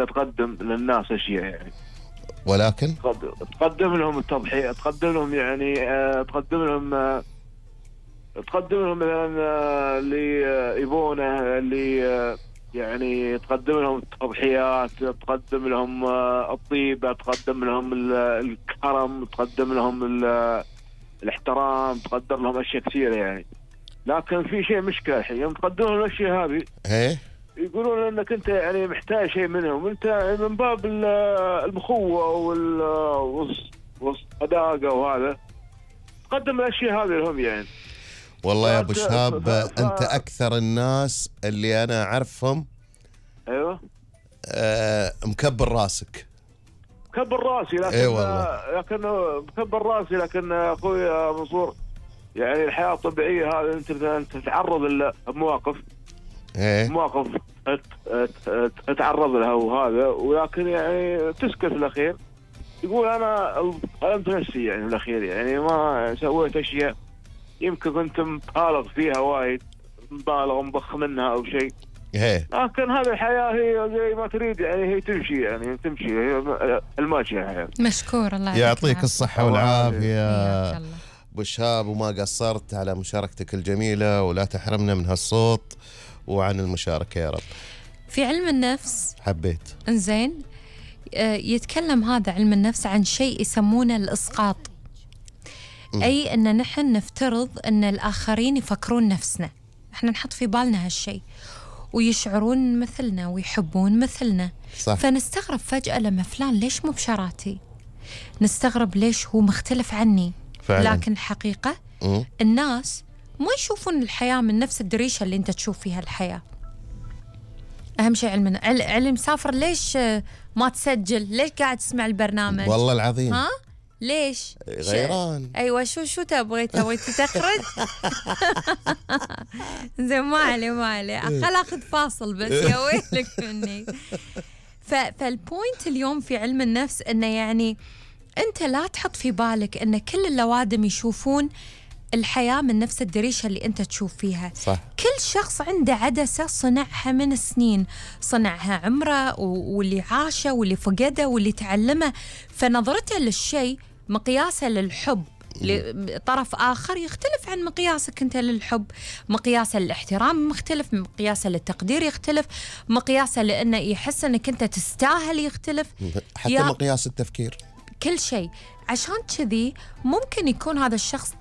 تقدم للناس أشياء يعني، ولكن تقدم لهم التضحية، تقدم لهم يعني تقدم لهم مثلا اللي يبونه، اللي يعني تقدم لهم التضحيات، تقدم لهم الطيبة، تقدم لهم الكرم، تقدم لهم الاحترام، تقدم لهم أشياء كثيرة يعني. لكن في شيء مشكلة الحين يوم تقدمون الأشياء هذه يقولون انك انت يعني محتاج شيء منهم، انت من باب المخوة والصداقة وهذا تقدم الاشياء هذه لهم يعني. والله يا ابو شهاب انت اكثر الناس اللي انا اعرفهم. ايوه مكبر راسك. مكبر راسي لكن مكبر راسي، لكن اخوي منصور يعني الحياة الطبيعية هذه انت تتعرض لمواقف مواقف تتعرض لها وهذا، ولكن يعني تسكت الأخير، يقول أنا ظلمت نفسي يعني الأخير، يعني ما سويت أشياء يمكن كنت مبالغ فيها وايد، مبالغ مبخ منها أو شيء، لكن هذه الحياة هي زي ما تريد يعني، هي تمشي يعني تمشي، هي الماشية الحياة. مشكور، الله يعطيك الصحة والعافية أبو شهاب، وما قصرت على مشاركتك الجميلة، ولا تحرمنا من هالصوت وعن المشاركة يا رب. في علم النفس حبيت انزين يتكلم هذا علم النفس عن شيء يسمونه الإسقاط. أي أن نحن نفترض أن الآخرين يفكرون نفسنا، احنا نحط في بالنا هالشيء ويشعرون مثلنا ويحبون مثلنا، صح. فنستغرب فجأة لما فلان ليش مو بشراتي، نستغرب ليش هو مختلف عني فعلا. لكن الحقيقة الناس ما يشوفون الحياة من نفس الدريشة اللي انت تشوف فيها الحياة. أهم شيء علم سافر، ليش ما تسجل؟ ليش قاعد تسمع البرنامج؟ والله العظيم ها؟ ليش؟ غيران. أيوة شو تبغي تخرج؟ زين ما علي خل أخذ فاصل بس يا ويلك مني. فالبوينت اليوم في علم النفس إنه يعني أنت لا تحط في بالك إن كل اللوادم يشوفون الحياة من نفس الدريشة اللي أنت تشوف فيها. صح. كل شخص عنده عدسة صنعها من سنين، صنعها عمره واللي عاشه واللي فقده واللي تعلمه، فنظرته للشيء مقياسه للحب لطرف آخر يختلف عن مقياسك أنت للحب، مقياسه للاحترام مختلف، مقياسه للتقدير يختلف، مقياسه لأنه يحس أنك أنت تستاهل يختلف، حتى مقياس التفكير، كل شيء. عشان كذي ممكن يكون هذا الشخص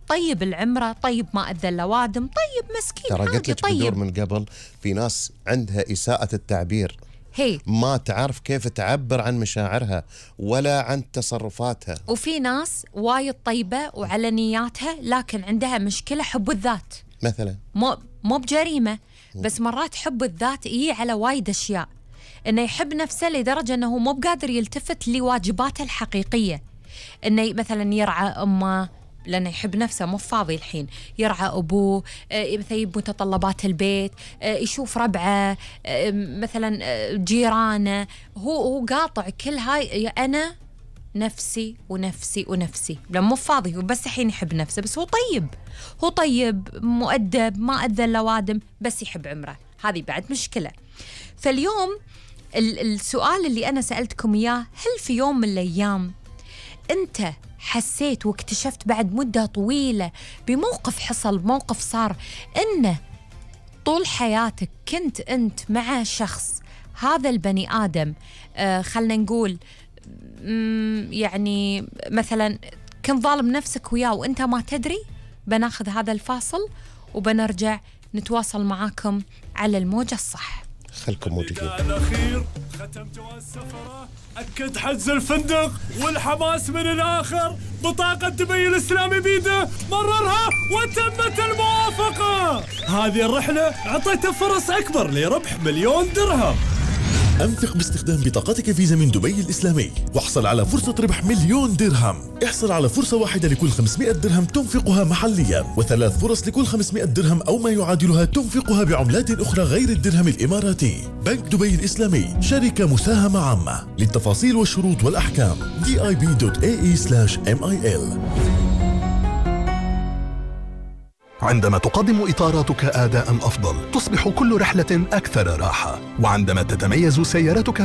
طيب العمرة، طيب ما أذى اللوادم، طيب مسكين، ترى قلت لك بدور من قبل في ناس عندها إساءة التعبير، ما تعرف كيف تعبر عن مشاعرها ولا عن تصرفاتها. وفي ناس وايد طيبة وعلى نياتها لكن عندها مشكلة حب الذات مثلا، مو بجريمة بس مرات حب الذات يجي على وايد أشياء، إنه يحب نفسه لدرجة إنه مو بقادر يلتفت لواجباته الحقيقية، إنه مثلا يرعى أمه لأنه يحب نفسه مو فاضي الحين، يرعى أبوه، مثلا متطلبات البيت، يشوف ربعه، مثلا جيرانه، هو قاطع كل هاي، أنا نفسي ونفسي ونفسي، لما مو فاضي هو بس الحين يحب نفسه، بس هو طيب مؤدب ما أذى اللوادم بس يحب عمره، هذه بعد مشكلة. فاليوم السؤال اللي أنا سألتكم إياه، هل في يوم من الأيام أنت حسيت واكتشفت بعد مدة طويلة بموقف حصل، موقف صار، إنه طول حياتك كنت أنت مع شخص، هذا البني آدم خلنا نقول يعني مثلا كنت ظالم نفسك وياه وأنت ما تدري؟ بناخذ هذا الفاصل وبنرجع نتواصل معاكم على الموجة الصح. خلكم موجودين. الأخير ختمت السفرة، أكد حجز الفندق والحماس من الآخر، بطاقة دبي الإسلامي بيده مررها وتمت الموافقة. هذه الرحلة أعطيته فرص أكبر لربح 1,000,000 درهم. أنفق باستخدام بطاقتك فيزا من دبي الإسلامي واحصل على فرصة ربح 1,000,000 درهم. احصل على فرصة واحدة لكل 500 درهم تنفقها محليا، و3 فرص لكل 500 درهم أو ما يعادلها تنفقها بعملات أخرى غير الدرهم الإماراتي. بنك دبي الإسلامي شركة مساهمة عامة. للتفاصيل والشروط والأحكام dib.ae/mil. عندما تقدم إطاراتك أداء أفضل تصبح كل رحلة أكثر راحة، وعندما تتميز سيارتك